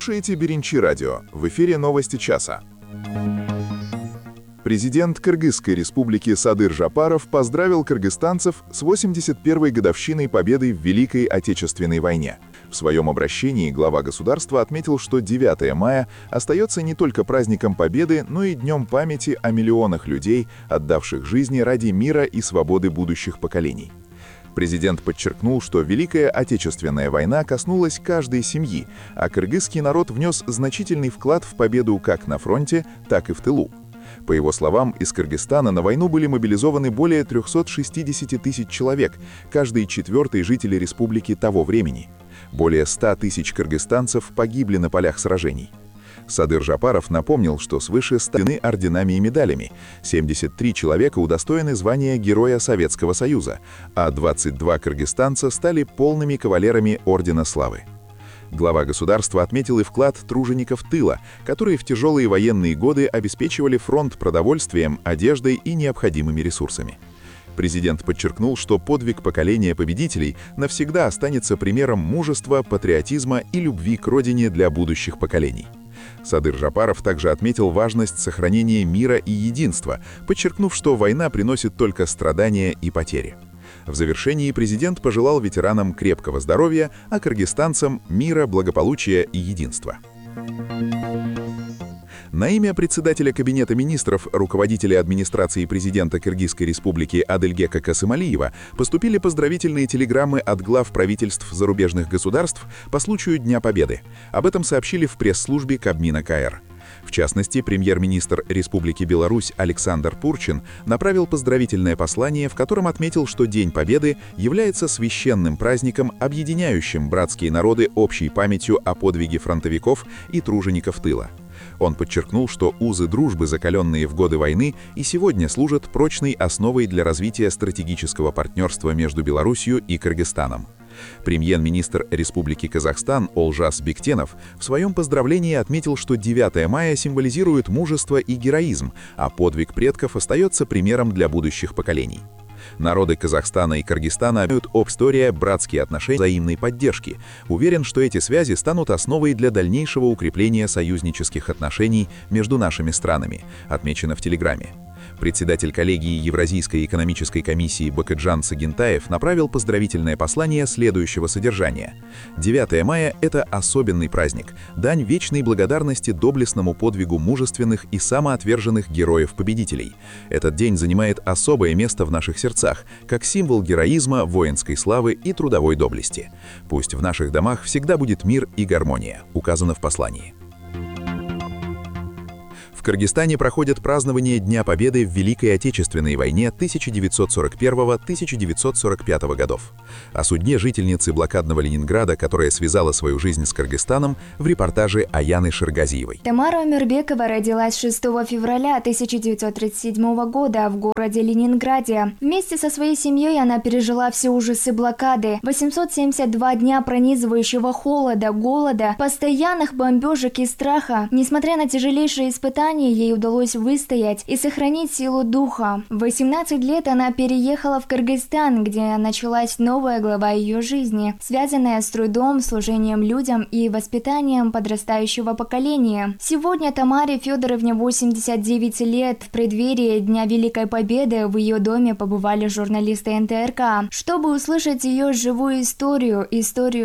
Слушайте Беренчи радио. В эфире новости часа. Президент Кыргызской республики Садыр Жапаров поздравил кыргызстанцев с 81-й годовщиной победы в Великой Отечественной войне. В своем обращении глава государства отметил, что 9 мая остается не только праздником Победы, но и днем памяти о миллионах людей, отдавших жизни ради мира и свободы будущих поколений. Президент подчеркнул, что Великая Отечественная война коснулась каждой семьи, а кыргызский народ внес значительный вклад в победу как на фронте, так и в тылу. По его словам, из Кыргызстана на войну были мобилизованы более 360 тысяч человек, каждый четвертый житель республики того времени. Более 100 тысяч кыргызстанцев погибли на полях сражений. Садыр Жапаров напомнил, что свыше 100 орденами и медалями, 73 человека удостоены звания Героя Советского Союза, а 22 кыргызстанца стали полными кавалерами Ордена Славы. Глава государства отметил и вклад тружеников тыла, которые в тяжелые военные годы обеспечивали фронт продовольствием, одеждой и необходимыми ресурсами. Президент подчеркнул, что подвиг поколения победителей навсегда останется примером мужества, патриотизма и любви к родине для будущих поколений. Садыр Жапаров также отметил важность сохранения мира и единства, подчеркнув, что война приносит только страдания и потери. В завершении президент пожелал ветеранам крепкого здоровья, а кыргызстанцам мира, благополучия и единства. На имя председателя Кабинета министров, руководителя администрации президента Кыргызской республики Адылгека Касымалиева поступили поздравительные телеграммы от глав правительств зарубежных государств по случаю Дня Победы. Об этом сообщили в пресс-службе Кабмина КР. В частности, премьер-министр Республики Беларусь Александр Пурчин направил поздравительное послание, в котором отметил, что День Победы является священным праздником, объединяющим братские народы общей памятью о подвиге фронтовиков и тружеников тыла. Он подчеркнул, что узы дружбы, закаленные в годы войны, и сегодня служат прочной основой для развития стратегического партнерства между Беларусью и Кыргызстаном. Премьер-министр Республики Казахстан Олжас Бектенов в своем поздравлении отметил, что 9 мая символизирует мужество и героизм, а подвиг предков остается примером для будущих поколений. Народы Казахстана и Кыргызстана имеют история, братские отношения, взаимной поддержки. Уверен, что эти связи станут основой для дальнейшего укрепления союзнических отношений между нашими странами, отмечено в телеграмме. Председатель коллегии Евразийской экономической комиссии Бакытжан Сагентаев направил поздравительное послание следующего содержания. 9 мая – это особенный праздник, дань вечной благодарности доблестному подвигу мужественных и самоотверженных героев-победителей. Этот день занимает особое место в наших сердцах, как символ героизма, воинской славы и трудовой доблести. Пусть в наших домах всегда будет мир и гармония, указано в послании. В Кыргызстане проходят празднование Дня Победы в Великой Отечественной войне 1941-1945 годов. О судьбе жительницы блокадного Ленинграда, которая связала свою жизнь с Кыргызстаном, в репортаже Аяны Ширгазиевой. Тамара Омирбекова родилась 6 февраля 1937 года в городе Ленинграде. Вместе со своей семьей она пережила все ужасы блокады, 872 дня пронизывающего холода, голода, постоянных бомбежек и страха. Несмотря на тяжелейшие испытания, ей удалось выстоять и сохранить силу духа. В 18 лет она переехала в Кыргызстан, где началась новая глава ее жизни, связанная с трудом, служением людям и воспитанием подрастающего поколения. Сегодня Тамаре Федоровне 89 лет. В преддверии Дня Великой Победы в ее доме побывали журналисты НТРК, чтобы услышать ее живую историю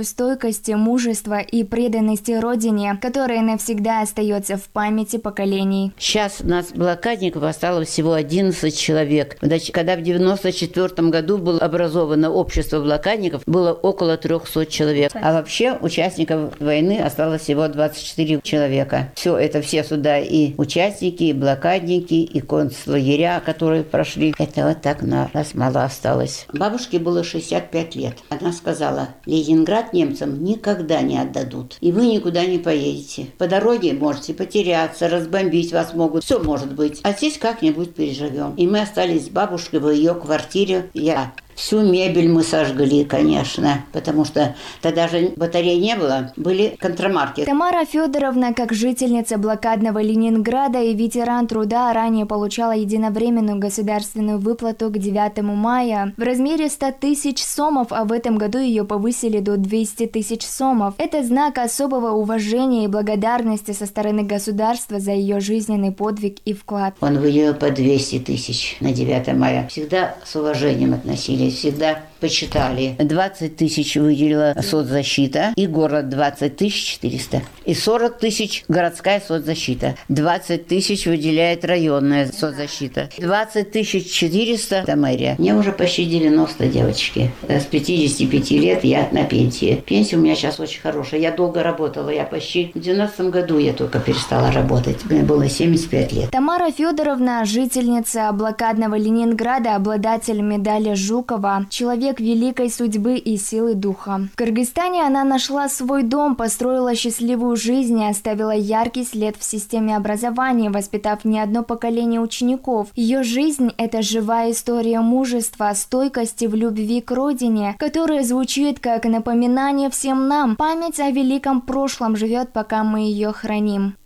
стойкости, мужества и преданности родине, которая навсегда остается в памяти поколений. Сейчас у нас блокадников осталось всего 11 человек. Когда в 1994 году было образовано общество блокадников, было около 300 человек. А вообще участников войны осталось всего 24 человека. Все сюда и участники, и блокадники, и концлагеря, которые прошли. Это вот так нас мало осталось. Бабушке было 65 лет. Она сказала: Ленинград немцам никогда не отдадут. И вы никуда не поедете. По дороге можете потеряться, разбомбить вас могут. Все может быть. А здесь как-нибудь переживем. И мы остались с бабушкой в ее квартире. Я Всю мебель мы сожгли, конечно, потому что тогда же батарей не было, были контрамарки. Тамара Федоровна, как жительница блокадного Ленинграда и ветеран труда, ранее получала единовременную государственную выплату к 9 мая в размере 100 тысяч сомов, а в этом году ее повысили до 200 тысяч сомов. Это знак особого уважения и благодарности со стороны государства за ее жизненный подвиг и вклад. Он выделил по 200 тысяч на 9 мая. Всегда с уважением относились, всегда почитали. 20 тысяч выделила соцзащита, и город 20 400. И 40 тысяч городская соцзащита. 20 тысяч выделяет районная соцзащита. 20 400 это мэрия. Мне уже почти 90, девочки. С 55 лет я на пенсии. Пенсия у меня сейчас очень хорошая. Я долго работала. Я почти в 90 году я только перестала работать. Мне было 75 лет. Тамара Федоровна, жительница блокадного Ленинграда, обладатель медали Жукова, человек великой судьбы и силы духа. В Кыргызстане она нашла свой дом, построила счастливую жизнь и оставила яркий след в системе образования, воспитав не одно поколение учеников. Ее жизнь – это живая история мужества, стойкости в любви к родине, которая звучит как напоминание всем нам. Память о великом прошлом живет, пока мы ее храним.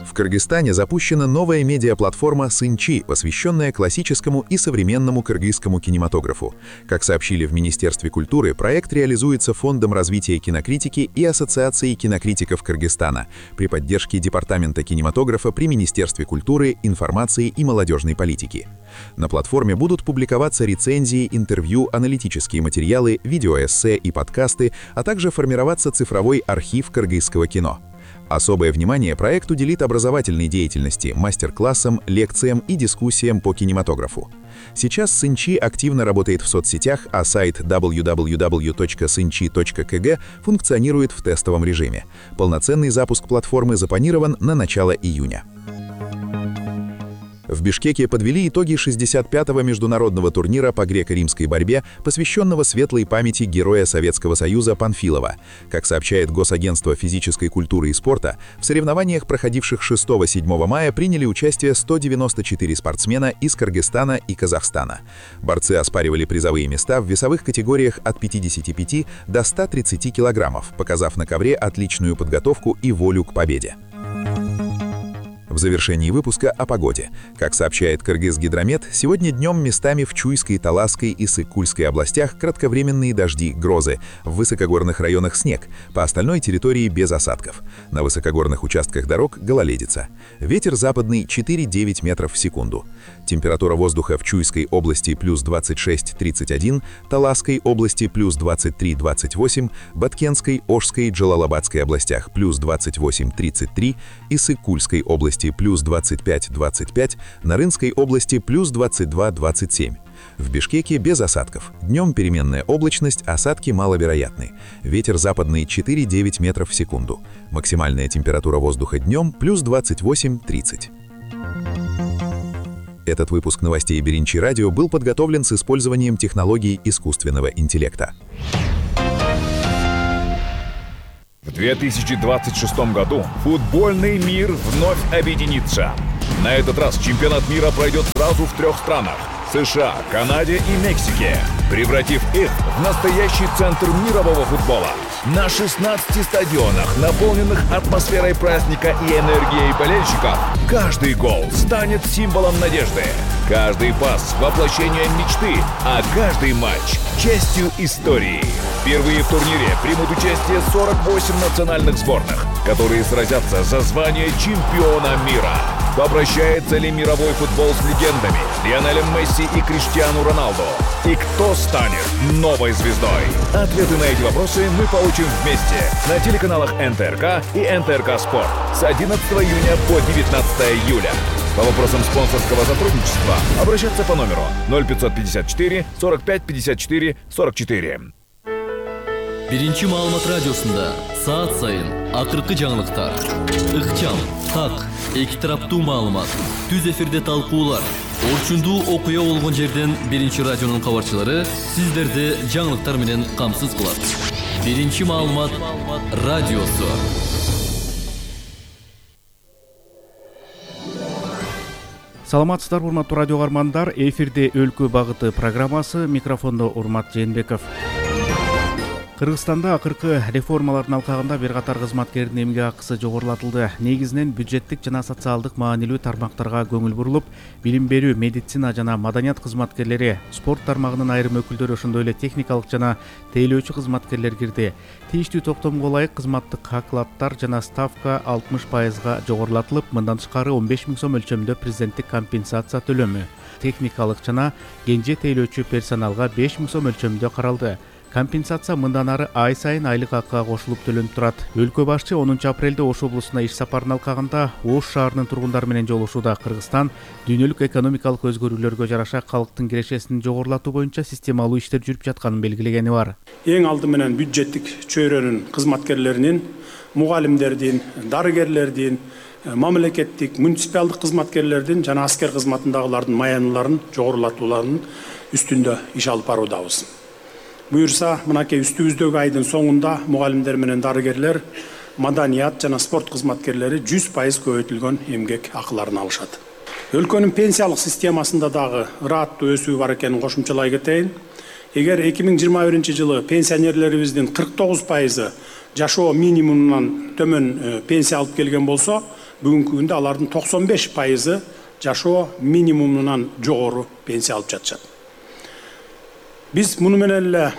В Кыргызстане запущена новая медиаплатформа «Сынчи», посвященная классическому и современному кыргызскому кинематографу. Как сообщили в Министерстве культуры, проект реализуется Фондом развития кинокритики и Ассоциацией кинокритиков Кыргызстана при поддержке Департамента кинематографа при Министерстве культуры, информации и молодежной политики. На платформе будут публиковаться рецензии, интервью, аналитические материалы, видеоэссе и подкасты, а также формироваться цифровой архив кыргызского кино. Особое внимание проект уделит образовательной деятельности, мастер-классам, лекциям и дискуссиям по кинематографу. Сейчас Сынчи активно работает в соцсетях, а сайт www.synchi.kg функционирует в тестовом режиме. Полноценный запуск платформы запланирован на начало июня. В Бишкеке подвели итоги 65-го международного турнира по греко-римской борьбе, посвященного светлой памяти героя Советского Союза Панфилова. Как сообщает Госагентство физической культуры и спорта, в соревнованиях, проходивших 6-7 мая, приняли участие 194 спортсмена из Кыргызстана и Казахстана. Борцы оспаривали призовые места в весовых категориях от 55 до 130 килограммов, показав на ковре отличную подготовку и волю к победе. В завершении выпуска о погоде. Как сообщает Кыргызгидромет, сегодня днем местами в Чуйской, Таласской и Сыккульской областях кратковременные дожди, грозы, в высокогорных районах снег, по остальной территории без осадков. На высокогорных участках дорог гололедица. Ветер западный 4-9 метров в секунду. Температура воздуха в Чуйской области плюс 26-31, Таласской области плюс 23-28, Баткенской, Ошской, Джалалабадской областях плюс 28-33 и Сыккульской области плюс 25-25, Нарынской области плюс 22-27. В Бишкеке без осадков. Днем переменная облачность, осадки маловероятны. Ветер западный 4-9 метров в секунду. Максимальная температура воздуха днем плюс 28-30. Этот выпуск новостей Беринчи Радио был подготовлен с использованием технологий искусственного интеллекта. В 2026 году футбольный мир вновь объединится. На этот раз чемпионат мира пройдет сразу в 3 странах – США, Канаде и Мексике, превратив их в настоящий центр мирового футбола. На 16 стадионах, наполненных атмосферой праздника и энергией болельщиков, каждый гол станет символом надежды. Каждый пас – воплощением мечты, а каждый матч – частью истории. Впервые в турнире примут участие 48 национальных сборных, которые сразятся за звание чемпиона мира. Попрощается ли мировой футбол с легендами Лионелем Месси и Криштиану Роналду? И кто станет новой звездой? Ответы на эти вопросы мы получим вместе на телеканалах НТРК и НТРК Спорт с 11 июня по 19 июля. По вопросам спонсорского сотрудничества обращаться по номеру 0554 45 54 44. Биринчи маалымат радиосунда саат сайын акыркы жаңылыктар, ыкчам, так, эки тараптуу маалымат, түз эфирде талкуулар, орчундуу окуя болгон жерден Биринчи радионун кабарчылары сиздерди жаңылыктар менен камсыз кылат. Биринчи маалымат радиосу. Саламатсыздарбы урматтуу радио каармандар, эфирде өлкө багыты программасы, микрофондо Урмат Жээнбеков. Кыргызстанда акыркы реформалардын алкагында бир катар кызматкердин эмгек акысы жогорулатылды. Негизинен бюджеттик жана социалдык маанилүү тармактарга көңүл бурулуп, билим берүү, медицина жана маданият кызматкерлери, спорт тармагынын айрым өкүлдөрү, ошондой эле техникалык жана тейлөөчү кызматкерлер кирди. Тийиштүү токтомго ылайык кызматтык оклаттар жана ставка 60%га жогорулатылып, мындан тышкары 15 000 сом өлчөмүндө президенттик компенсация төлөмү, техникалык жана кенже тейлөөчү персоналга 5 000 сом өлчөмүндө каралды. Компенсация мындан ары ай сайын айлык акыга кошулуп төлөнүп турат. Өлкө башчы 10 апрелде Ош облусуна иш сапарын алкагында Ош шаарынын тургундары менен жолугушууда Кыргызстан дүйнөлүк экономикалык өзгөрүүлөргө жараша калктын кирешесин жогорулатуу боюнча системалуу иштер жүрүп жатканын белгилегени бар. Эң алды менен бюджеттик чөйрөнүн кызматкерлеринин, мугалимдердин, дарыгерлердин, мамлекеттик, муниципалдык кызматкерлердин жана аскер кызматындагылардын маяныларын жогорулатууларынын үстүндө иш алып баруудабыз. Буюрса, мынакей үстүбүздөгү айдын соңунда мугалимдер менен дарыгерлер, маданият жана спорт кызматкерлери 100% көбөйтүлгөн эмгек акыларын алышат. Өлкөнүн пенсиялык системасында дагы ырааттуу өсүү бар экенин кошумчалай кетейин. Эгер 2021 жылы пенсионерлерибиздин 49% жашоо минимумунан төмөн пенсия алып келген болсо, бүгүнкү күндө алардын 95% жашоо минимумунан жогору пенсия алып жатышат. Биз муну менен эле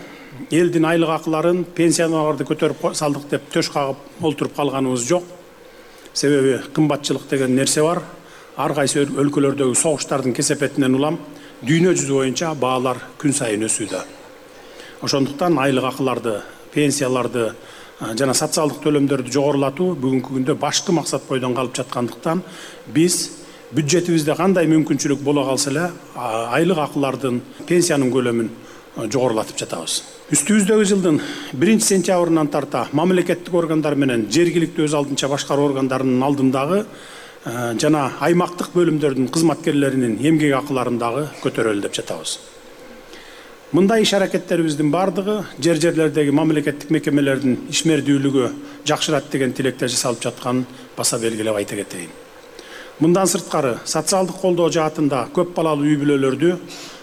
элдин айлык акыларын, пенсияларды көтөрүп салдык деп төш кагып олтуруп калганыбыз жок. Себеби кымбатчылык деген нерсе бар. Ар кайсы өлкөлөрдөгү согуштардын кесепетинен улам дүйнө жүзү боюнча баалар күн сайын өсүүдө. Ошондуктан айлык акыларды, пенсияларды жана социалдык төлөмдөрдү жогорулатуу бүгүнкү күндө башкы максат бойдон калып жаткандыктан биз бюджетибизде кандай мүмкүнчүлүк боло калса эле айлык акылардын, пенсиянын көлөмүн жогорулатып жатабыз. Үстүбүздөгү жылдын 1-сентябрынан тарта мамлекеттик органдар менен жергиликтүү өз алдынча башкаруу органдарынын алдындагы жана аймактык бөлүмдөрдүн кызматкерлеринин эмгек акыларын дагы көтөрөлү деп жатабыз. Мындай иш аракеттерибиздин бардыгы жерлердеги мамлекеттик мекемелердин ишмердүүлүгү жакшырат деген тилекте жасалып жатканын баса белгилеп айта кетейин. Мындан сырткары социалдык колдоо жаатында көп балалуу үй бүлөлөрдү,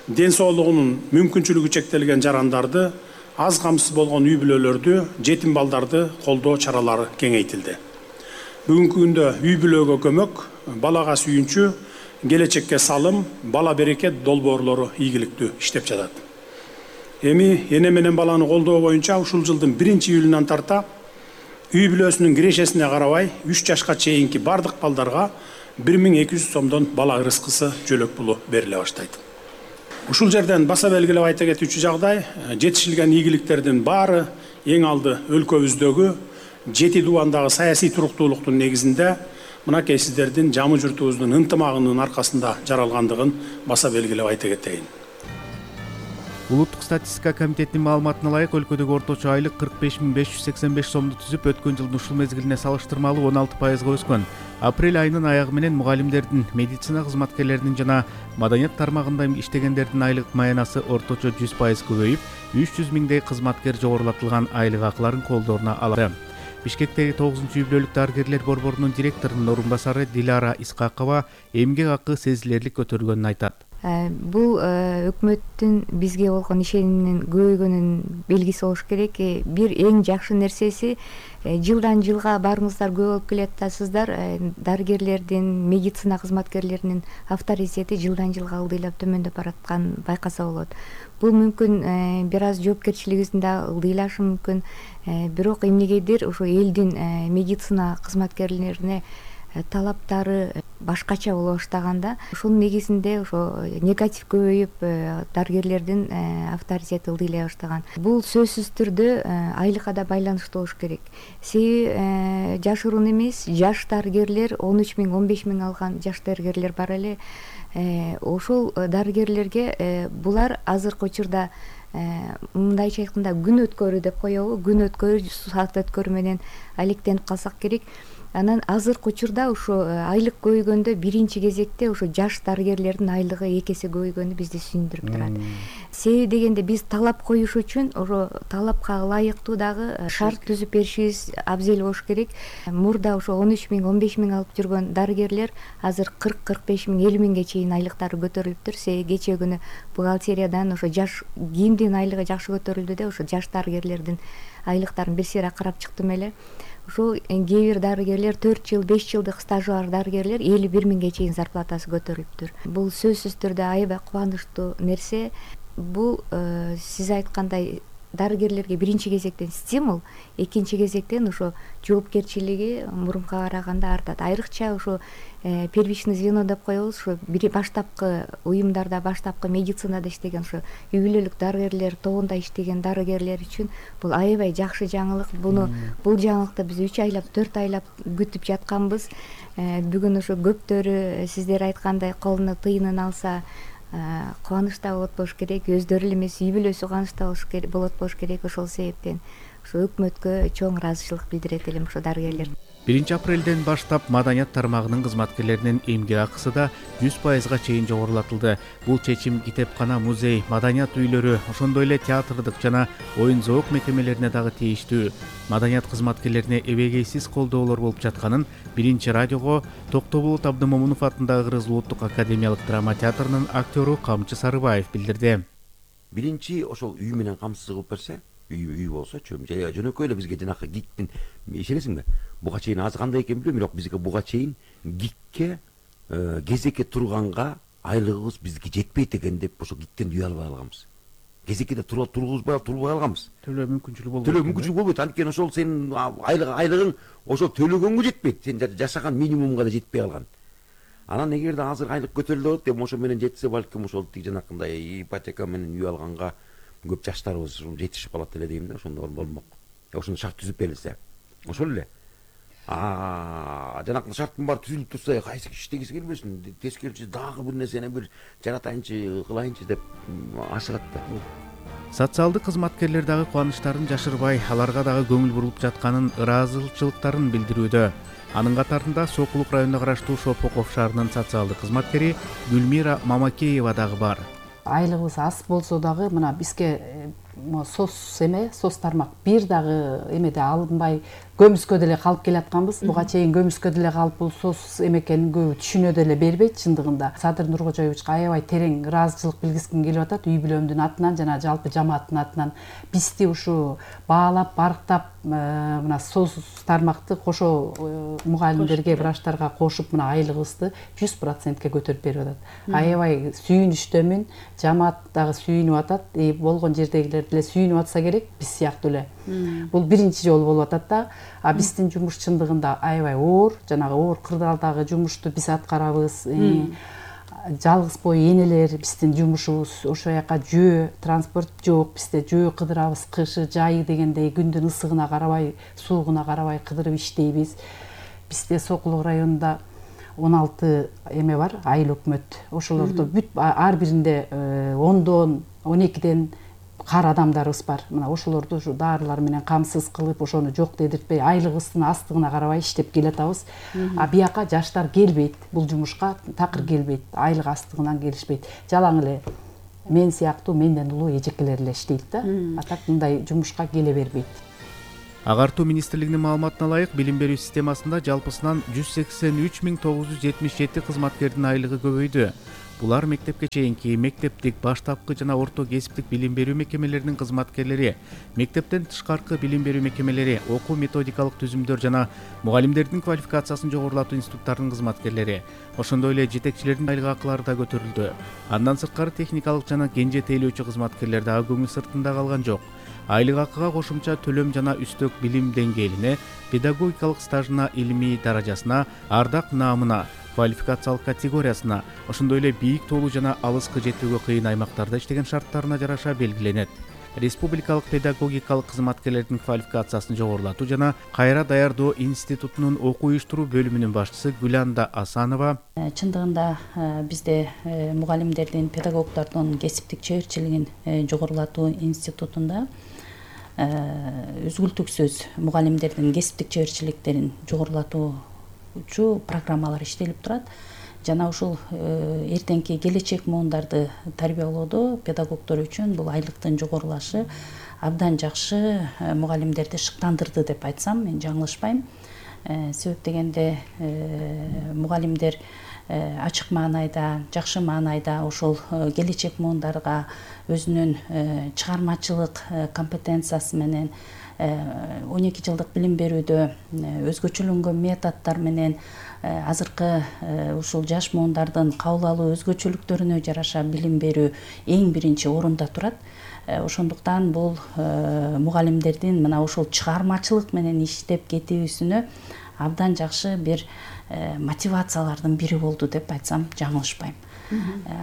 ден соолугунун мүмкүнчүлүгү чектелген жарандарды, аз камсыз болгон үй бүлөлөрдү, жетим балдарды колдоо чаралары кеңейтилди. Бүгүнкү күндө үй бүлөгө көмөк, балага сүйүнчү, келечекке салым, бала берекет долбоорлору ийгиликтүү иштеп жатат. Эми эне менен баланы колдоо боюнча ушул жылдын 1-июлунан тарта үй бүлөсүнүн кирешесине карабай 3 жашка чейинки бардык балдарга 1200 сомдон бала ырыскысы жөлөк пулу бериле баштайт. Ушул жерден баса белгилеп айта кетүүчү жагдай, жетишилген ийгиликтердин баары эң алды өлкөбүздөгү жети дубандагы саясий туруктуулуктун негизинде мынакей сиздердин жамы журтубуздун ынтымагынын аркасында жаралгандыгын баса белгилеп айта кетейин. Улуттук статистика комитетинин маалыматына ылайык өлкөдөгү орточо айлык 45 585 сомду түзүп, өткөн жылдын ушул мезгилине салыштырмалуу 16%га өскөн. Апрель айынын аягы менен мугалимдердин, медицина кызматкерлеринин жана маданият тармагында иштегендердин айлык маянасы орточо 100% көбөйүп, 300 000дей кызматкер жогорулатылган айлык акыларын колдоруна алды. Бишкектеги 9-үй бүлөлүк дарыгерлер борборунун директорунун орун басары Дилара Исқақова эмгек акы сезилерлик көтөрүлгөнүн айтат. Бул өкмөттүн бизге болгон ишениминин көбөйгөнүнүн белгиси болуш керек. Бир эң жакшы нерсеси жылдан жылга баарыңыздар көп болуп келатасыздар. Дарыгерлердин, медицина кызматкерлеринин авторитети жылдан жылга ылдыйлап төмөндөп баратканын байкаса болот. Бул мүмкүн бир аз жоопкерчилигибиздин да ылдыйлашы мүмкүн. Бирок эмнегедир ошо элдин медицина кызматкерлерине талаптары башкача боло баштаганда, ошонун негизинде ошо негатив көбөйүп, дарыгерлердин авторитети ылдыйлай баштаган. Бул сөзсүз түрдө айлыкка да байланыштуу болуш керек. Себеби жашыруун эмес, жаш дарыгерлер 13 000, 15 000 алган жаш дарыгерлер бар эле. Ошол дарыгерлерге булар азыркы учурда мындайча айтканда күн өткөрүү деп коебу, күн өткөрүү, саат өткөрүү менен алектенип калсак керек. Анан азыркы учурда ошо айлык көбөйгөндө биринчи кезекте ошо жаш дарыгерлердин айлыгы 2 эсе көбөйгөнү бизди сүйүндүрүп турат. Себеби дегенде биз талап коюш үчүн ошо талапка ылайыктуу дагы шарт түзүп беришибиз абзел болуш керек. Мурда ошо 13 миң, 15 миң алып жүргөн дарыгерлер азыр 40-45 миң, 50 миңге чейин айлыктары көтөрүлүптүр. Себеби кечээ күнү бухгалтериядан ошо жаш кимдин айлыгы жакшы көтөрүлдү деп ошо жаш дарыгерлердин айлыктарын бир сыйра карап чыктым эле. Ошо кээ бир дарыгерлер 4 жыл, 5 жылдык стажы бар дарыгерлер 51 миңге чейин зарплатасы көтөрүлүптүр. Бул сөзсүз түрдө аябай кубанычтуу нерсе. Бул сиз айткандай дарыгерлерге биринчи кезектен стимул, экинчи кезектен ошо жоопкерчилиги мурунка караганда артат. Айрыкча ошо первичный звено деп коебуз, ошо баштапкы уюмдарда, баштапкы медицинада иштеген ошо үй бүлөлүк дарыгерлер тобунда иштеген дарыгерлер үчүн бул аябай жакшы жаңылык. Бул жаңылыкты биз 3 айлап, 4 айлап күтүп жатканбыз. Бүгүн ошо көптөрү сиздер айткандай колуна тыйынын алса кубанычта болот болуш керек, өздөрү эле эмес үй бүлөсү кубанычта болот болуш керек. Ошол себептен ошо өкмөткө чоң ыраазычылык билдирет элем ошо дарыгерлер. 1 апрелден баштап маданият тармагынын кызматкерлеринин эмгек акысы да 100%га чейин жогорулатылды. Бул чечим китепкана, музей, маданият үйлөрү, ошондой эле театрдык жана оюн зоок мекемелерине дагы тийиштүү. Маданият кызматкерлерине эбегейсиз колдоолор болуп жатканын 1 радиого Токтоболот Абдымомунов атындагы Кыргыз Улуттук академиялык драма театрынын актёру Камчы Сарыбаев билдирди. Биринчи ошол үй менен камсыз кылып берсе, үй болсочу, жөнөкөй эле бизге жанакы гиктин ишенесиңби? Буга чейин азы кандай экен билбейм, бирок бизге буга чейин гикке кезекке турганга айлыгыбыз бизге жетпейт экен деп ошо гиктен үй албай алганбыз. Кезеккеде турбай алганбыз. Төлөө мүмкүнчүлүгү болбойт. Анткени ошол сенин айлыгың ошол төлөгөнгө жетпейт. Сен жашаган минимумга да жетпей калган. Анан эгерде азыр айлык көтөрүлөт деп ошо менен жетсе, балким ошол тиги жанакындай ипотека менен үй алганга көп жаштарыбыз жетишип калат эле дейм да, ошондо болмок. Ошону шарт түзүп берилсе. Ошол эле. Жанакы шарттын баары түзүлүп турса, кайсы киши иштегиси келбесин, тескерчи дагы бир нерсени бир жаратайынчы, кылайынчы деп ашыгат да. Социалдык кызматкерлер дагы кубанычтарын жашырбай, аларга дагы көңүл бурулуп жатканын, ыраазычылыктарын билдирүүдө. Анын катарында Сокулук районуна караштуу Шопоков шаарынын социалдык кызматкери Гүлмира Мамакеева дагы бар. Айлыгыбыз аз болсо дагы мына бизге сос тармак бир дагы эмеде алынбай көмүскө деле калып келатканбыз. Буга чейин көмүскө деле калып бул сос эме экенин көбү түшүнө деле бербейт чындыгында. Садыр Нуркожоевичке аябай терең ыраазычылык билгиским келип атат үй бүлөмдүн атынан жана жалпы жамааттын атынан. Бизди ушу баалап, барктап мына сос тармакты кошо мугалимдерге, врачтарга кошуп мына айлыгыбызды 100%ке көтөрүп берип атат. Аябай сүйүнүчтөмүн, жамаат дагы сүйүнүп атат, болгон жердегилер деле сүйүнүп атса керек, биз сыяктуу эле. Бул биринчи жолу болуп атат да. Биздин жумуш чындыгында аябай оор, жанагы оор кырдаалдагы жумушту биз аткарабыз. Жалгыз бой энелер биздин жумушубуз, ошо жака жөө, транспорт жок, бизде жөө кыдырабыз, кышы, жайы дегендей күндүн ысыгына карабай, суугуна карабай кыдырып иштейбиз. Бизде Сокулук районунда 16 эме бар, айыл өкмөт. Ошолордо бүт ар биринде 10дон, 12ден кар адамдарыбыз бар. Мына ошолорду ушу дарылар менен камсыз кылып, ошону жок дедиртпей, айлыгыбыздын астыгына карабай иштеп келатабыз. Бияка жаштар келбейт, бул жумушка такыр келбейт, айлык астыгынан келишпейт. Жалаң эле мен сыяктуу менден улуу эжекелер эле иштейт да. Так мындай жумушка келе бербейт. Агартуу министрлигинин маалыматына ылайык, билим берүү системасында жалпысынан 183.977 кызматкердин айлыгы көбөйдү. Булар мектепке чейинки, мектептик, баштапкы жана орто кесиптик билим берүү мекемелеринин кызматкерлери, мектептен тышкаркы билим берүү мекемелери, окуу методикалык түзүмдөр жана мугалимдердин квалификациясын жогорулатуу институттарынын кызматкерлери, ошондой эле жетекчилердин айлык акылары да көтөрүлдү. Андан сырткары техникалык жана кенже тейлөөчү кызматкерлер дагы көңүл сыртында калган жок. Айлык акыга кошумча төлөм жана үстөк билим деңгээлине, педагогикалык стажына, илимий даражасына, ардак наамына, квалификациялык категориясына, ошондой эле бийик тоолуу жана алыскы жетүүгө кыйын аймактарда иштеген шарттарына жараша белгиленет. Республикалык педагогикалык кызматкерлердин квалификациясын жогорулатуу жана кайра даярдоо институтунун окуу уюштуруу бөлүмүнүн башчысы Гүланда Асанова чындыгында бизде мугалимдердин, педагогдордун кесиптик чеберчилигин жогорулатуу институтунда үзгүлтүксүз мугалимдердин кесиптик жеберчиликтерин жогорулатуучу программалар иштелип турат. Жана ушул эртеңки келечек муундарды тарбиялоодо педагогдор үчүн бул айлыктын жогорулашы абдан жакшы мугалимдерди шыктандырды деп айтсам мен жаңылышпайм. Себеп дегенде мугалимдер ачык маанайда, жакшы маанайда ошол келечек муундарга өзүнүн чыгармачылык компетенциясы менен 12 жылдык билим берүүдө өзгөчөлөнгөн методдор менен азыркы ушул жаш муундардын кабыл алуу өзгөчөлүктөрүнө жараша билим берүү эң биринчи орунда турат. Ошондуктан бул мугалимдердин мына ушул чыгармачылык менен иштеп кетүүсүнө абдан жакшы бир мотивациялардын бири болду деп айтсам жаңылышпайм.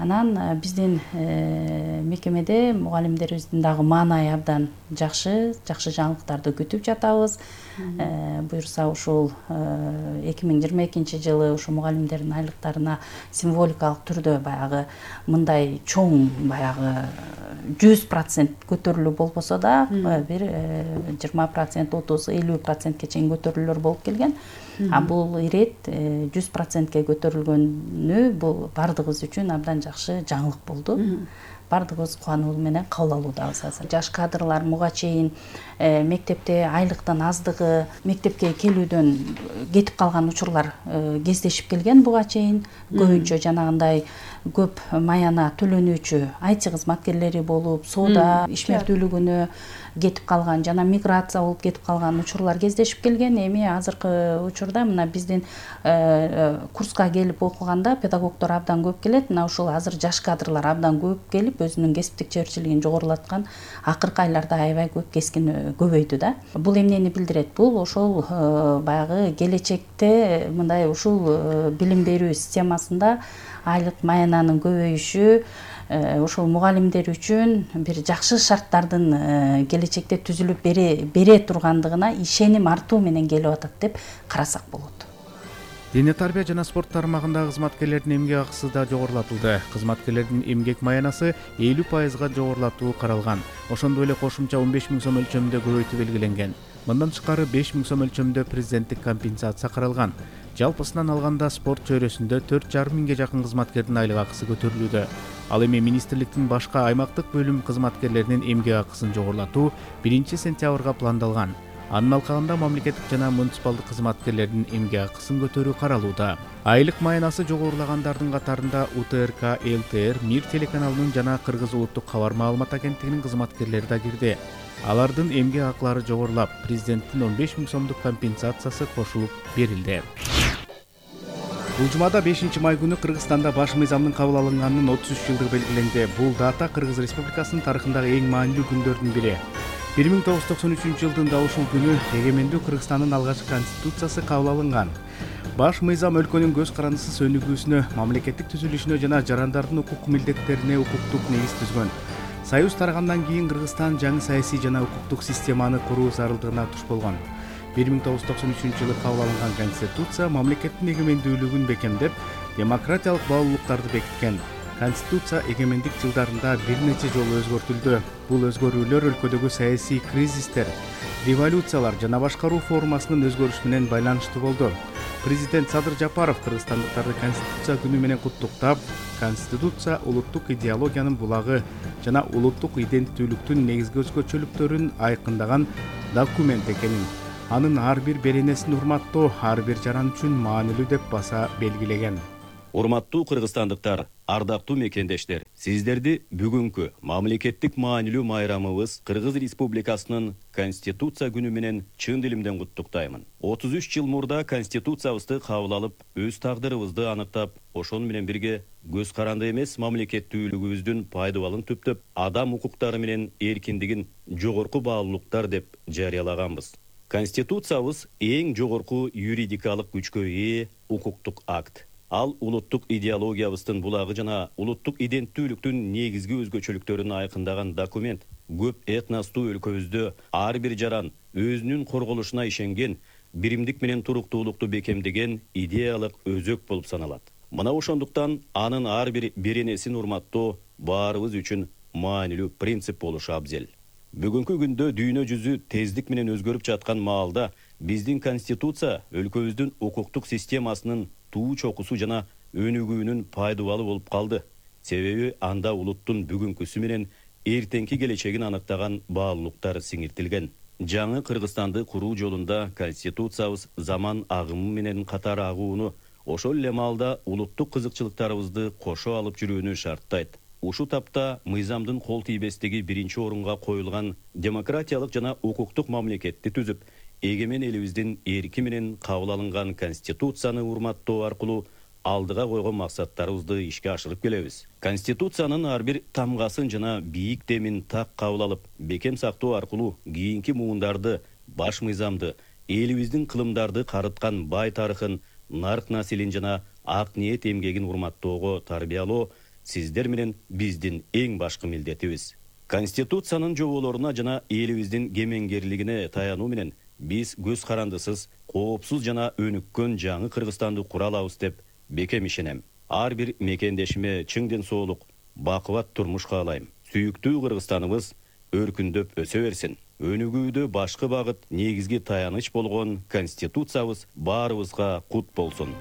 Анан биздин мекемеде мугалимдерибиздин дагы маанайы абдан жакшы жаңылыктарды күтүп жатабыз. Буюрса ушул 2022 жылы ушу мугалимдердин айлыктарына символикалык түрдө баягы мындай чоң баягы 100% көтөрүлүү болбосо да бир 20%, 30-50%ке чейин көтөрүлүүлөр болуп келген. Бул ирет 100%ке көтөрүлгөнү бул бардыгыбыз үчүн абдан жакшы жаңылык болду. Бардыгыбыз кубануу менен кабыл алуудабыз азыр. Жаш кадрлар муга чейин мектепте айлыктын аздыгы, мектепке келүүдөн кетип калган учурлар кездешип келген буга чейин. Көбүнчө жанагындай көп маяна төлөнүүчү IT кызматкерлери болуп, соода ишмердүүлүгүнө кетип калган жана миграция болуп кетип калган учурлар кездешип келген. Эми азыркы учурда мына биздин курска келип окуганда педагогдор абдан көп келет. Мына ушул азыр жаш кадрлар абдан көп келип өзүнүн кесиптик жеберчилигин жогорулаткан акыркы айларда аябай көп кескин көбөйдү да. Бул эмнени билдирет? Бул ошол баягы келечекте мындай ушул билим берүү системасында айлык маянанын көбөйүшү ошол мугалимдер үчүн бир жакшы шарттардын келечекте түзүлүп бере тургандыгына ишеним артуу менен келип атат деп карасак болот. Дене тарбия жана спорт тармагындагы кызматкерлердин эмгек акысы да жогорулатылды. Кызматкерлердин эмгек маянасы 50%га жогорулатуу каралган. Ошондой эле кошумча 15 000 сом өлчөмүндө көбөйтүү белгиленген. Мындан тышкары 5 000 сом өлчөмүндө президенттик компенсация каралган. Жалпысынан алганда спорт чөйрөсүндө 4,5 миңге жакын кызматкердин айлык акысы көтөрүлүүдө. Ал эми министрликтин башка аймактык бөлүм кызматкерлеринин эмгек акысын жогорулатуу 1-сентябрга пландалган. Анын алкагында мамлекеттик жана муниципалдык кызматкерлердин эмгек акысын көтөрүү каралууда. Айлык маянасы жогорулагандардын катарында УТРК, ЛТР, МИР телеканалынын жана Кыргыз улуттук кабар маалымат агенттигинин кызматкерлери да кирди. Алардын эмгек акылары жогорулап, президенттин 15 000 сомдук компенсациясы кошулуп берилди. Бул жумада 5 май күнү Кыргызстанда баш мыйзамдын кабыл алынганынын 33 жылдыгы белгиленди. Бул дата Кыргыз Республикасынын тарыхындагы эң маанилүү күндөрдүн бири. 1993 жылдын да ушул күнү эгемендүү Кыргызстандын алгачкы конституциясы кабыл алынган. Баш мыйзам өлкөнүн көз карандысыз өнүгүүсүнө, мамлекеттик түзүлүшүнө жана жарандардын укук милдеттерине укуктук негиз түзгөн. Союз тарагандан кийин Кыргызстан жаңы саясий жана укуктук системаны куруу зарылдыгына туш болгон. 1993 жылы кабыл алынган конституция мамлекеттин эгемендүүлүгүн бекемдеп, демократиялык баалуулуктарды бекиткен. Конституция эгемендик жылдарында бир нече жолу өзгөртүлдү. Бул өзгөрүүлөр өлкөдөгү саясий кризистер, революциялар жана башкаруу формасынын өзгөрүшү менен байланыштуу болду. Президент Садыр Жапаров кыргызстандыктарды Конституция күнү менен куттуктап, Конституция улуттук идеологиянын булагы жана улуттук иденттүүлүктүн негизги өзгөчөлүктөрүн айкындаган документ экенин, анын ар бир беренесин урматтоо ар бир жаран үчүн маанилүү деп баса белгилеген. Урматтуу кыргызстандыктар, ардактуу мекендештер, сиздерди бүгүнкү мамлекеттик маанилүү майрамыбыз Кыргыз Республикасынын Конституция күнү менен чын дилимден куттуктаймын. 33 жыл мурда Конституциябызды кабыл алып, өз тагдырыбызды аныктап, ошону менен бирге көз каранды эмес мамлекеттүүлүгүбүздүн пайдабалын түптөп, адам укуктары менен эркиндигин жогорку баалуулуктар деп жарыялаганбыз. Конституциябыз эң жогорку юридикалык күчкө ээ укуктук акт. Ал улуттук идеологиябыздын булагы жана улуттук иденттүүлүктүн негизги өзгөчөлүктөрүн айкындаган документ. Көп этностуу өлкөбүздө ар бир жаран өзүнүн корголушуна ишенген, биримдик менен туруктуулукту бекемдеген идеялык өзөк болуп саналат. Мына ошондуктан анын ар бир беренесин урматтоо баарыбыз үчүн маанилүү принцип болушу абзел. Бүгүнкү күндө дүйнө жүзү тездик менен өзгөрүп жаткан маалда биздин конституция өлкөбүздүн укуктук системасынын туу чокусу жана өнүгүүнүн пайдубалы болуп калды. Себеби анда улуттун бүгүнкүсү менен эртеңки келечегин аныктаган баалуулуктар сиңиртилген. Жаңы Кыргызстанды куруу жолунда конституциябыз заман агымы менен катар агууну, ошол эле маалда улуттук кызыкчылыктарыбызды кошо алып жүрүүнү шарттайт. Ушу тапта мыйзамдын кол тийбестиги биринчи орунга коюлган демократиялык жана укуктук мамлекетти түзүп, эгемен элибиздин эрки менен кабыл алынган конституцияны урматтоо аркылуу алдыга койгон максаттарыбызды ишке ашырып келебиз. Конституциянын ар бир тамгасын жана бийик демин так кабыл алып, бекем сактоо аркылуу кийинки муундарды, баш мыйзамды, элибиздин кылымдарды карыткан бай тарыхын, нарк населин жана ак ниет эмгегин урматтоого тарбиялоо сиздер менен биздин эң башкы милдетибиз. Конституциянын жоболоруна жана элибиздин кемеңгерлигине таянуу менен биз көз карандысыз, коопсуз жана өнүккөн жаңы Кыргызстанды кура алабыз деп бекем ишенем. Ар бир мекендешиме чың ден соолук, бакубат турмуш каалайм. Сүйүктүү Кыргызстаныбыз өркүндөп өсө берсин. Өнүгүүдө башкы багыт, негизги таяныч болгон конституциябыз баарыбызга кут болсун.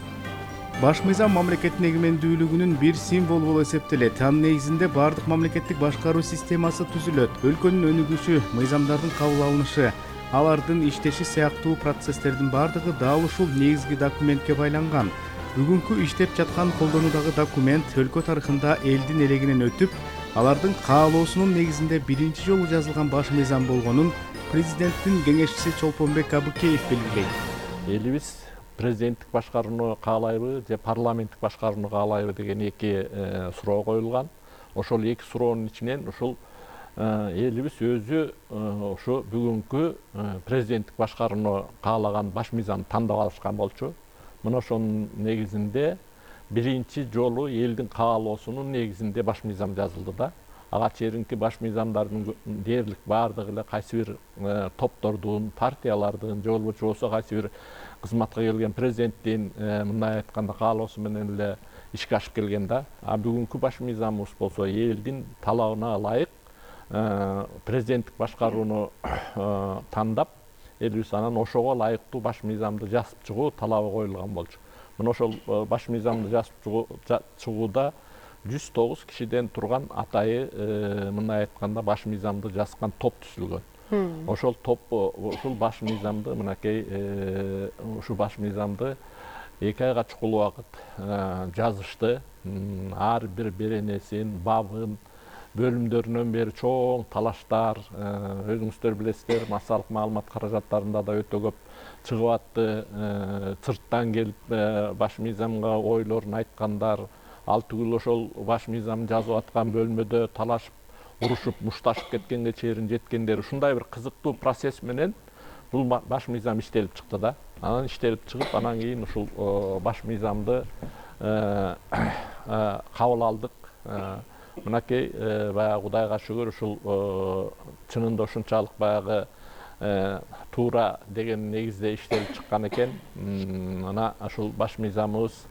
Баш мыйзам мамлекеттин эгемендүүлүгүнүн бир символу болуп эсептелет. Анын негизинде бардык мамлекеттик башкаруу системасы түзүлөт. Өлкөнүн өнүгүшү, мыйзамдардын кабыл алынышы, алардын иштеши сыяктуу процесстердин бардыгы дал ушул негизги документке байланган. Бүгүнкү иштеп жаткан колдонуудагы документ өлкө тарыхында элдин элегинен өтүп, алардын каалоосунун негизинде биринчи жолу жазылган баш мыйзам болгонун президенттин кеңешчиси Чолпонбек Абыкеев белгилейт. Элибиз президенттик башкарууну каалайбы же парламенттик башкарууну каалайбы деген эки суроо коюлган. Ошол эки суроонун ичинен ушул элибиз өзү ушу бүгүнкү президенттик башкарууну каалаган баш мыйзамды тандап алышкан болчу. Мына ошонун негизинде биринчи жолу элдин каалоосунун негизинде баш мыйзам жазылды да. Ага чейинки баш мыйзамдардын дээрлик баардыгы эле кайсы бир топтордун, партиялардын же болбосо кайсы бир кызматка келген президенттин мындай айтканда каалоосу менен эле ишке ашып келген да. А бүгүнкү баш мыйзамыбыз болсо элдин талабына ылайык президенттик башкарууну тандап, элибиз анан ошого ылайыктуу баш мыйзамды жазып чыгуу талабы коюлган болчу. Мына ошол баш мыйзамды жазып чыгууда 109 кишиден турган атайы мындай айтканда баш мыйзамды жазган топ түзүлгөн. Ошол топ ушул баш мыйзамды мынакей ушу баш мыйзамды 2 айга чукул убакыт жазышты. Ар бир беренесин, бабын, бөлүмдөрүнөн бери чоң талаштар, өзүңүздөр билесиздер, массалык маалымат каражаттарында да өтө көп чыгып атты. Сырттан келип баш мыйзамга ойлорун айткандар, ал түгүл ошол баш мыйзам жазып аткан бөлмөдө талашып, урушуп, мушташып кеткенге чейин жеткендер. Ушундай бир кызыктуу процесс менен бул баш мыйзам иштелип чыкты да. Анан иштелип чыгып, анан кийин ушул баш мыйзамды кабыл алдык. Мынакей баягы Кудайга шүгүр ушул чынында ушунчалык баягы туура деген негизде иштелип чыккан экен. Мына ушул баш мыйзамыбыз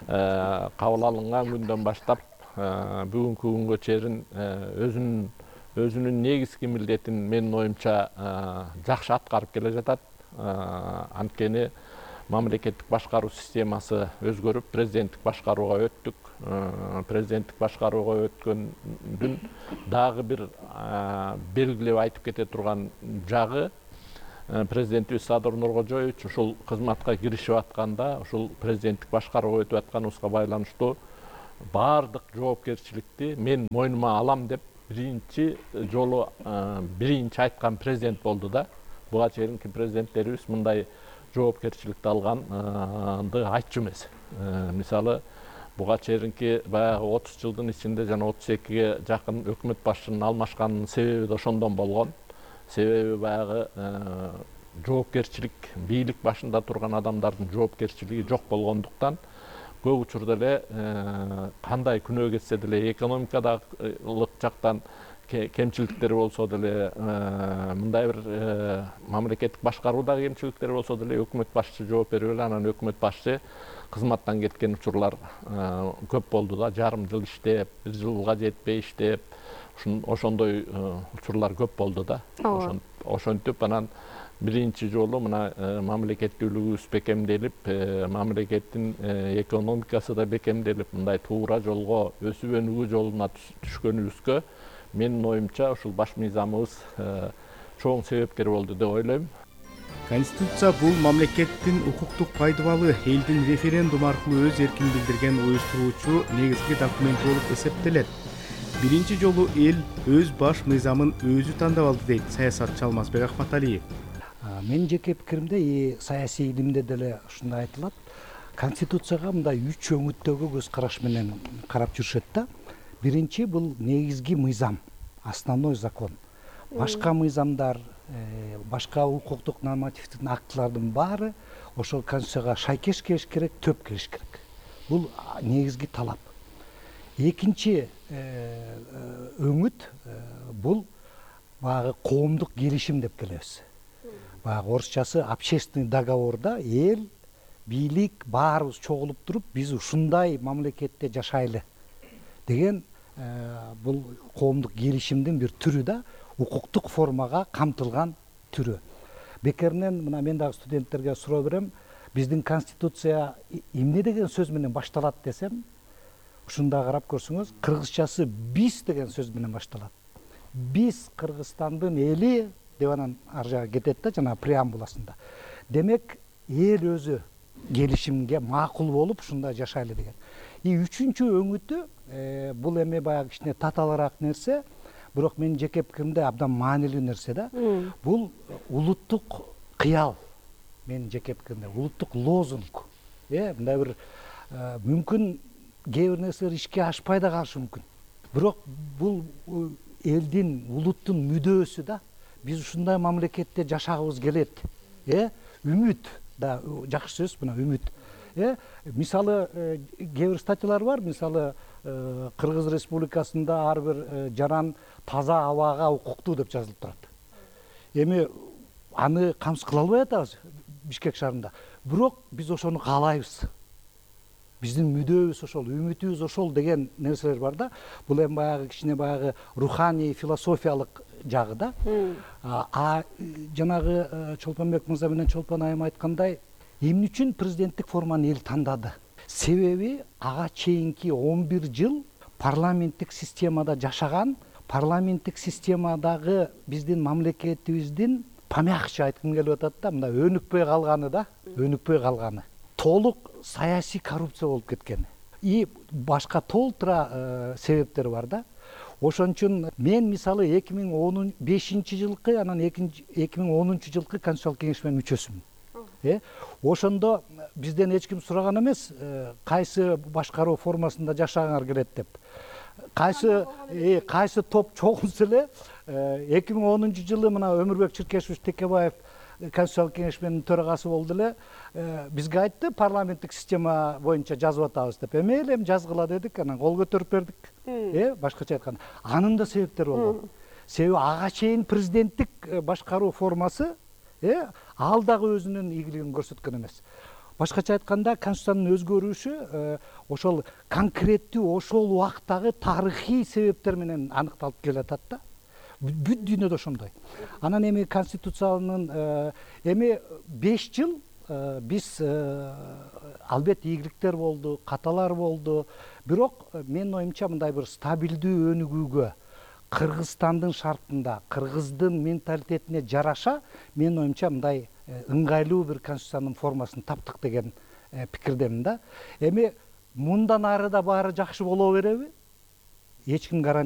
кабыл алынган күндөн баштап бүгүнкү күнгө чейин өзүнүн негизги милдетин менин оюмча жакшы аткарып келе жатат. Анткени мамлекеттик башкаруу системасы өзгөрүп, президенттик башкарууга өттүк. Президенттик башкарууга өткөндүн дагы бир белгилеп айтып кете турган жагы, президентибиз Садыр Нуркожоевич ушул кызматка киришип атканда, ушул президенттик башкарууга өтүп атканыбызга байланыштуу баардык жоопкерчиликти мен мойнума алам деп биринчи жолу биринчи айткан президент болду да. Буга чейинки президенттерибиз мындай жоопкерчиликти алганды айтчу эмес. Мисалы, буга чейинки баягы 30 жылдын ичинде жана 32ге жакын өкмөт башчынын алмашканынын себеби да ошондон болгон. Себеби баягы жоопкерчилик, бийлик башында турган адамдардын жоопкерчилиги жок болгондуктан көп учурда эле кандай күнөө кетсе деле, экономикадагылык жактан кемчиликтери болсо деле, мындай бир мамлекеттик башкаруудагы кемчиликтери болсо деле өкмөт башчы жооп берип эле, анан өкмөт башчы кызматтан кеткен учурлар көп болду да. Жарым жыл иштеп, 1 жылга жетпей иштеп, ошондой учурлар көп болду да. Ошентип анан биринчи жолу мына мамлекеттүүлүгүбүз бекемделип, мамлекеттин экономикасы да бекемделип, мындай туура жолго өсүп өнүгүү жолуна түшкөнүбүзгө менин оюмча ушул баш мыйзамыбыз чоң себепкер болду деп ойлойм. Конституция бул мамлекеттин укуктук пайдыбалы элдин референдум аркылуу өз эркин билдирген уюштуруучу негизги документи болуп эсептелет. Биринчи жолу эл өз баш мыйзамын өзү тандап алды дейт саясатчы Алмазбек Акматалиев. Менин жеке пикиримде саясий илимде деле ушундай айтылат. Конституцияга мындай 3 өңүттөгү көз караш менен карап жүрүшөт да. Биринчи бул негизги мыйзам, основной закон. Башка мыйзамдар, башка укуктук нормативдик актылардын баары ошол конституцияга шайкеш келиш керек, төп келиш керек. Бул негизги талап. Экинчи өңүт бул баягы коомдук келишим деп келебиз. Баягы орусчасы общественный договорда эл, бийлик баарыбыз чогулуп туруп, биз ушундай мамлекетте жашайлы деген бул коомдук келишимдин бир түрү да, укуктук формага камтылган түрү. Бекеринен мына мен дагы студенттерге суроо берем, биздин конституция эмне деген сөз менен башталат десем, ушунда карап көрсөңүз, кыргызчасы биз деген сөз менен башталат. Биз Кыргызстандын эли деп анан ар жагы кетет да, жана преамбуласында. Демек, эл өзү келишимге макул болуп ушундай жашайлы деген. Үчүнчү өңүтү бул эми баягы кичине татаалыраак нерсе, бирок менин жеке пикиримде абдан маанилүү нерсе да. Бул улуттук кыял, менин жеке пикиримде, улуттук лозунг. Мындай бир мүмкүн кээ бир нерселер ишке ашпай да калышы мүмкүн. Бирок бул элдин, улуттун мүдөөсү да. Биз ушундай мамлекетте жашагыбыз келет. Үмүт да жакшы сөз, мына үмүт. Мисалы, кээ бир статьялар бар, мисалы Кыргыз Республикасында ар бир жаран таза абага укуктуу деп жазылып турат. Эми аны камсыз кыла албай атабыз Бишкек шаарында. Бирок биз ошону каалайбыз. Биздин мүдөөбүз ошол, үмүтүбүз ошол деген нерселер бар да. Бул эми баягы кичине баягы руханий, философиялык жагы да. Жанагы Чолпонбек мырза менен Чолпон айым айткандай, эмне үчүн президенттик форманы эл тандады? Себеби ага чейинки 11 жыл парламенттик системада жашаган, парламенттик системадагы биздин мамлекетибиздин памякчы айткым келип атат да, мындай өнүкпөй калганы да, өнүкпөй калганы. Толук саясий коррупция болуп кеткен. Башка толтура себептер бар да. Ошон үчүн мен мисалы 2015-жылкы, анан 2010-жылкы Конституциялык кеңешменин мүчөсүмүн. Ошондо бизден эч ким сураган эмес, кайсы башкаруу формасында жашагыңар келет деп. Кайсы топ чогулса эле 2010-жылы мына Өмүрбек Чиркешевич Текебаев Конституциялык кеңешменин төрагасы болду эле, бизге айтты, парламенттик система боюнча жазып атабыз деп. Эми жазгыла дедик, анан кол көтөрүп бердик. Башкача айтканда, анын да себептери болду. Себеби ага чейин президенттик башкаруу формасы ал дагы өзүнүн ийгилигин көрсөткөн эмес. Башкача айтканда, Конституциянын өзгөрүшү ошол конкреттүү ошол убактагы тарыхый себептер менен аныкталып келатат да. Бүт дүйнөдө ошондой. Анан эми Конституциянын эми 5 жыл биз албетте ийгиликтер болду, каталар болду. Бирок менин оюмча мындай бир стабилдүү өнүгүүгө Кыргызстандын шартында, кыргыздын менталитетине жараша, менин оюмча мындай ыңгайлуу бир конституциянын формасын таптык деген пикирдемин да. Эми мындан ары да баары жакшы боло береби? Эч ким